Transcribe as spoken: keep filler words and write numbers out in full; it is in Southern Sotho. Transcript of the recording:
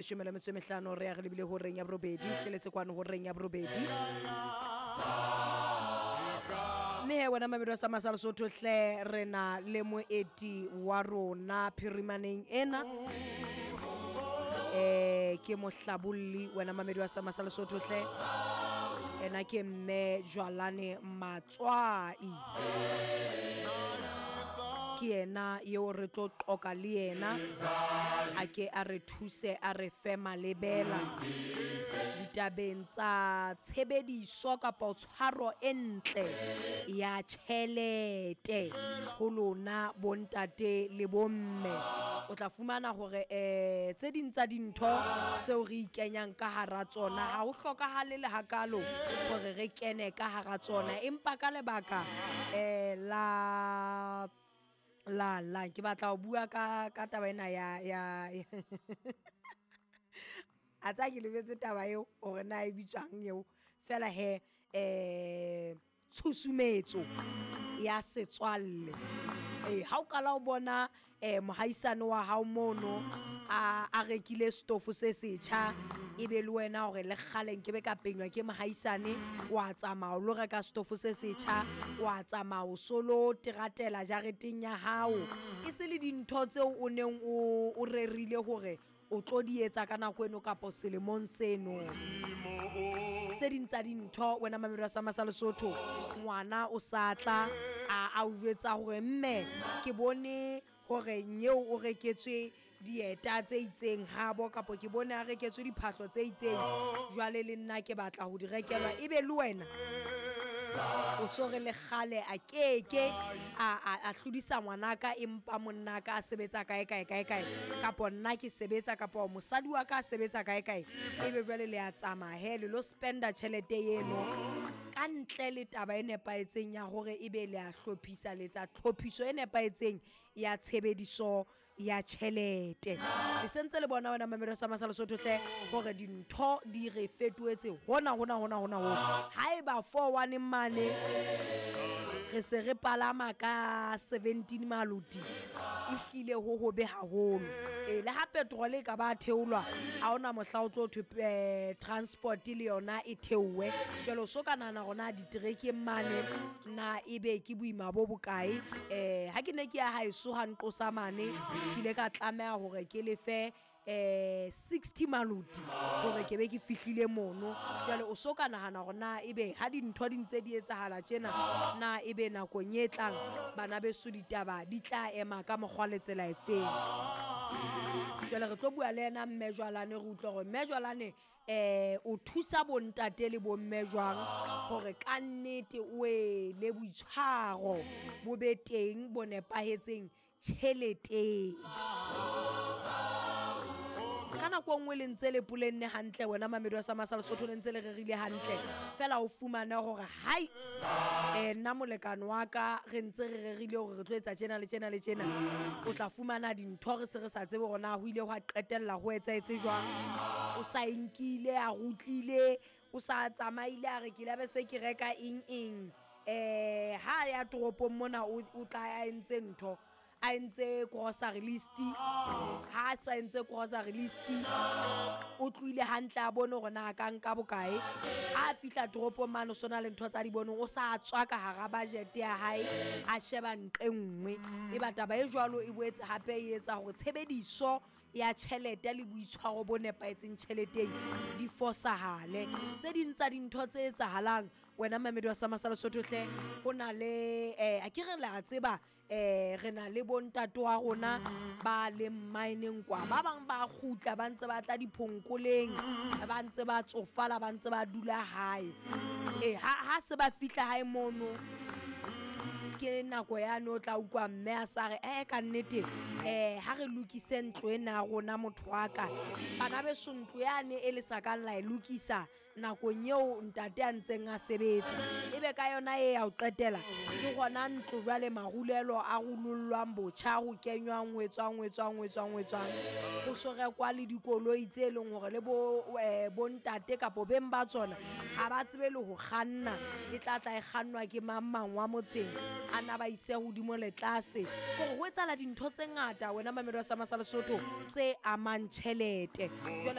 Leshome le metso e mehlano re ya re lebile horeng ya borobedi, tleletse kwano horeng ya borobedi. Mme he wena mamedi wa sa Masa Lesotho hle, re na le moeti wa rona phirimaneng ena. Eh ke mohlabolli wena mamedi wa sa Masa Lesotho hle. Ena ke mme Jwalane Matswai. Ke yena eo re tlo qoka le yena, a ke a re thuse a re fe malebela ditabeng tsa tshebediso kapa tshwaro e ntle ya tjhelete ho lona bontate le bomme. O tla fumana hore eh tse ding tsa dintho tseo re ikenyang ka hara tsona ha ho hlokahale le hakalo hore re kene ka hara tsona, empa ka lebaka eh la la la ke batla ho bua ka ka taba ena ya ya a tsa ke lebetse taba eo hore na e bitswang eo fela he eh tshusumetso ya setswalle. Eh ha o kala o bona eh mohaisane wa hao mono a a rekile stofo se setjha, ebe le wena hore le kgale nke be ka penywa ke mohaisane, wa tsamaya o lo reka stofo se setjha, wa tsamaya o solo teratela jareteng ya hao, e se le dintho tseo o neng o o rerile hore o tlo di etsa ka nako eno kapa selemong seno. Tse ding tsa dintho wena mamedi wa sa Masa Lesotho, ngwana o sa tla a a o jwetsa hore mme ke bone hore nyeo o reketswe dieta tse itseng habo, kapa ke bone a reketswe diphahlo tse itseng, jwale le nna ke batla ho di rekelwa. Ebe le wena o so re le kgale a keke a a a hlodisa ngwanaka, empa monnaka a sebetsa kae kae kae kae, kapa nna ke sebetsa, kapa mosadi wa ka a sebetsa kae kae, ebe jwale le a tsamaya he le lo spenda tjhelete eno ka ntle le taba e nepahetseng ya hore ebe le a hlophisa, le etsa tlhophiso e nepahetseng ya tshebediso ya tjhelete. Le sentse le bona wena mamedi wa sa Masa Lesotho hle hore dintho di re fetohetse hona hona hona hona hona. Haeba four one mane re se re palama ka seventeen maluti, e hlile ho hobe haholo. E le ha petrol e ka ba theolwa, ha hona mohla o tlo thwe eh, transport le yona e theowe. Jwale o so ka nahana hore na diterekeng mane na ebe ke boima bo bokae. Eh ha ke ne ke ya haeso ha nqosa mane, ke ile ka tlameha hore ke lefe eh sixty maluti hore ke be ke fihlile mono. Jwale o so ka nahana hore na ebe ha dintho di ntse di etsahala tjena, na ebe nakong e tlang bana beso ditaba di tla ema ka mokgwa le tsela efeng. Jwale re tlo bua le yena mme Jwalane, re utlwe hore mme Jwalane eh o thusa bontate le bomme jwang hore ka nnete o e le boitshwaro bo be teng bo nepahetseng tjheleteng. Ka nako nngwe le ntse le polenne hantle wena mamedi wa sa Masa Lesotho, le ntse le rerile hantle, fela o fumane hore hai eh nna molekane wa ka re ntse re rerile hore re tlo etsa tjena le tjena le tjena, o tla fumana dintho re se re sa tsebe hore na ho ile hwa qetella ho etsahetse jwang. O sa e nkile a rutlile, o sa tsamaile a re ke la be se ke reka eng eng. Eh ha ya toropong mona o o tla a entse ntho, a entse grocery list, ha a sa entse grocery list o tlohile hantle a bone hore na a ka nka bokae. Ha a fihla toropong mane o sona le ntho tsa di boneng, o sa tswa ka hara budget ya hae a sheba nqe nngwe. Eba taba e jwalo e boetse hape e etsa hore tshebediso ya tjhelete le boitshwaro bo nepahetseng tjheleteng di fosahale. Tse ding tsa dintho tse etsahalang wena mamedi wa sa Masa Lesotho hle, ho na le eh a ke re la tseba eh re na le bontate wa rona ba leng mineng kwa, ba bang ba kgutla ba ntse ba tla diphonkoleng, ba ntse ba tsofala, ba ntse ba dula hae. Eh ha ha se ba fihla hae mono ke nako yane o tla utlwa mme a sa re eh ka nnete eh ha re lokise ntlo ena ya rona motho wa ka. Bana beso ntlo yane e le sa kang la e lokisa nakong eo ntate a ntseng a sebetsa, ebe ka yona e ya ho qetela ke hona ntlo jwale marulelo a rulollwang botjha, ho kenywang ho etswang ho etswang ho etswang ho etswang, ho so rekwa le dikoloi tse leng hore le bo eh, bontate kapo beng ba tsona ha ba tsebe le ho kganna, e tla tla e kgannwa ke mang mang wa motseng, a na ba ise hodimo le tlase. Hore ho etsahala dintho tse ngata. ngata wena mamelo wa sama sa Lesotho tse amang tjhelete. Jwale